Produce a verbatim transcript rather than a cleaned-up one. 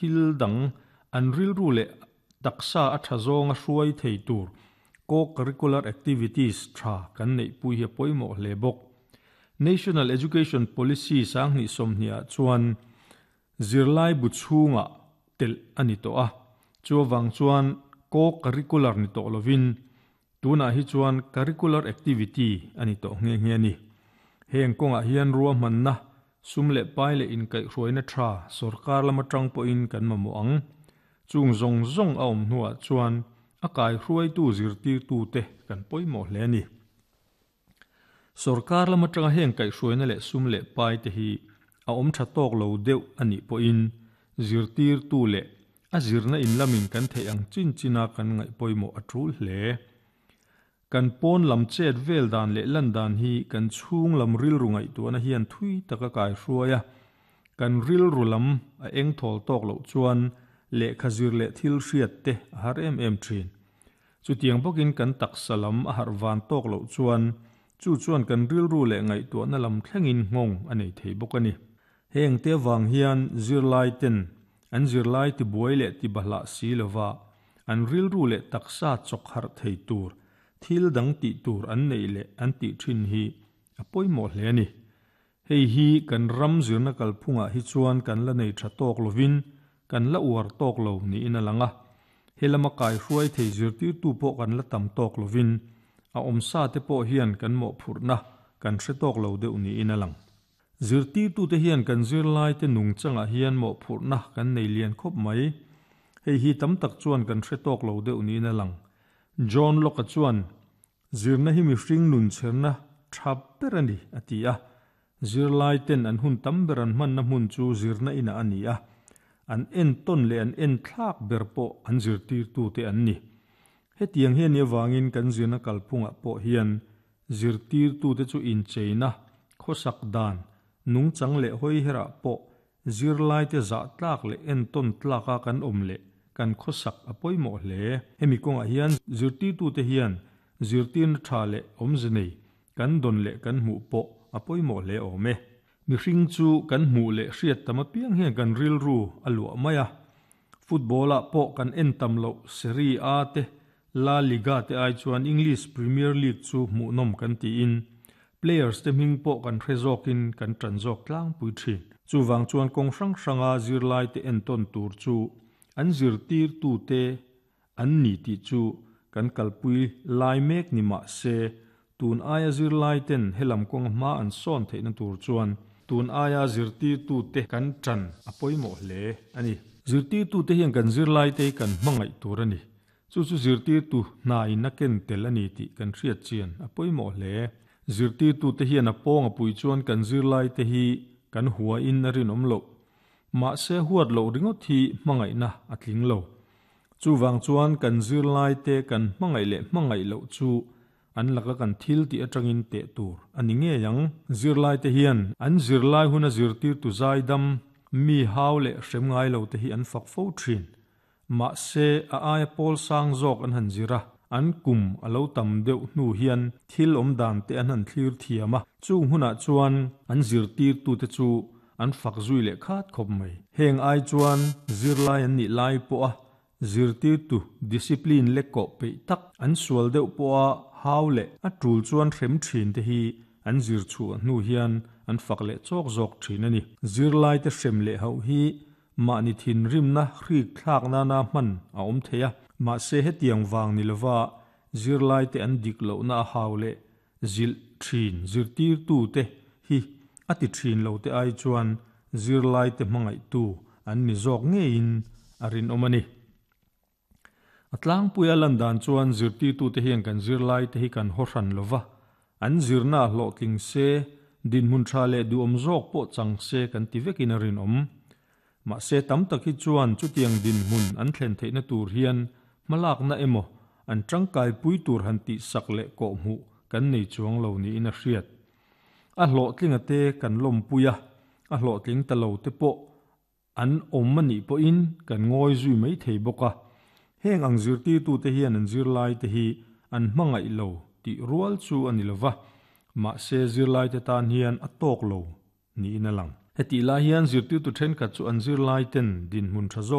Thil dang an rilru leh taksa a tha zawnga hruai thei tur co-curricular activities tha kan neih pui hi a pawimawh hle bawk. National Education Policy sanghnih sawmhnih ah chuan zirlai bu chhungah telh a ni tawh a, chuavang chuan co-curricular ni tawh lovin tunah hi chuan curricular activity a ni tawh nghe nghe a ni. Heng kawngah hian ruahmanna sum leh pai leh inkaihhruaina tha sorkar lama tang pawhin kan mamawh ang. Chung zawng zawng a awm hnuah chuan a kaihruaitu zirtirtu te kan pawimawh hle a ni. Sorkar lama tanga heng kaihhruaina leh sum leh pai te hi a awm tha tawk lo deuh a nih pawhin zirtirtu leh a zirna in lamin kan theih ang chin china kan ngaih pawimawh a tul hle. Kan pawn lam chet vel dan leh lan dan hi kan chhung lam rilru ngaihtuahna hian thui taka kaihruai a, kan rilru lam a eng thawl tawk loh chuan lehkha zir leh thil hriat te a har em em thin. Chutiang bawkin kan taksa lam a harh van tawk loh chuan chu chuan kan rilru leh ngaihtuahna lam thlengin nghawng a nei thei bawk a ni. Heng te vang hian zirlai ten an zirlai tibuai leh tibahlah si lova an rilru leh taksa chawk harh thei tur thil dang tih tur an nei leh an tih thin hi a pawimawh hle a ni. Hei hi kan ram zirna kalphungah hi chuan kan la nei tha tawk lovin kan la uar tawk lo niin a lang a. Helama kaihruai thei zirtirtu pawh kan la tam tawk lovin a awmsa te pawh hian kan mawhphurhna kan hre tawk lo deuh niin a lang. Zirtirtu te hian kan zirlai te nung changah hian mawhphurhna kan nei lian khawp mai. Hei hi tam tak chuan kan hre tawk lo deuh niin a lang. John Locke chuan zirna hi mihring nun chherna tha ber a ni a ti a. Zirlai ten an hun tam ber an hmanna hmun chu zirna inah a ni a. An en tawn leh an en thlak ber pawh an zirtirtu te an ni. Hetiang hian ni awangin kan zirna kalphungah pawh hian zirtirtu te chu incheina khawsak dan nung chang leh hawi herah pawh zirlai te zah tlak leh en tawn tlaka kan awm leh kan khawsak a pawimawh hle. Hemi kawngah hian zirtirtu te hian zirtirna tha leh awmze nei kan dawn leh kan hmuh pawh a pawimawh hle awm e. Mihring chu kan hmuh leh hriat tam apiang hian kan rilru a luah mai a. Football ah pawh kan en tam loh Serie A te La Liga te ai chuan English Premier League chu hmuhnawm kan tiin players te hming pawh kan hre zawkin kan tan zawk tlangpui thin. Chuwang chuan kawng hrang hranga zirlai te en tawn tur chu an zirtirtu te an ni tih chu kan kalpui lai mek ni mah se tun aia zirlai ten helam kawng hma an sawn theihna tur chuan tun aia zirtirtu te kan tan a pawimawh hle a ni. Zirtirtu te hian kan zirlai te kan hmangaih tur a ni. Chu chu zirtirtu hna in a ken tel a ni tih kan hriat chian a pawimawh hle. Zirtirtu te hian a pawng a pui chuan kan zirlai te hi kan hua in a rinawm loh. Mah se huat loh ringawt hi hmangaihna a tling lo. Chuwang chuan kan zirlai te kan hmangaih leh hmangaih loh chu an laka kan thil tih atangin teh tur a ni ngei ang. Zirlai te hian an zirlai huna zirtirtu zai dam mi hau leh hrem ngai lo te hi an fak fo thin. Mah se a aia pawl sang zawk an han zira an kum a lo tam deuh hnu hian thil awm dan te an han thlir thiam a. Chung hunah chuan an zirtirtu te chu an fak zui leh khat khawp mai. Heng ai chuan zirlai an nih lai pawh a zirtirtu discipline le kawh peih tak an sual deuh pawh a hau leh a tul chuan hrem thin te hi an zir chu hnu hian an fak leh chawk zawk thin a ni. Zirlai te hrem leh ho hi mahni thin rimna hrik thlak na na hman a awm thei a. Mah se hetiang wang ni lova zirlai te an dik lo na a hau leh zil thin zirtirtu te hi a ti thin lo te ai chuan zirlai te hmangaih tu an ni zawk ngeiin a rinawm a ni. A tlangpuia lan dan chuan zirtirtu te hian kan zirlai te hi kan haw hran lova an zirna hlawh tling se dinhmun tha leh duhawm zawk pawh chang se kan ti vekin a rinawm. Mah se tam tak hi chuan chutiang dinhmun an thlen theihna tur hian hmalakna emaw an tangkai pui tur han tih sak leh kawh hmuh kan nei chuang lo niin a hriat. A hlawh tlinga te kan lawm pui a, a hlawh tling ta lo te pawh an awm a nih pawhin kan ngawi zui mai thei bawk a. Heng ang zirtirtu te hian an zirlai te hi an hmangaih lo tih rual chu a ni lova. Mah se zirlai te tan hian a tawk lo niin a lang. Heti lai hian zirtirtu thenkhat chu an zirlai ten dinhmun tha zawk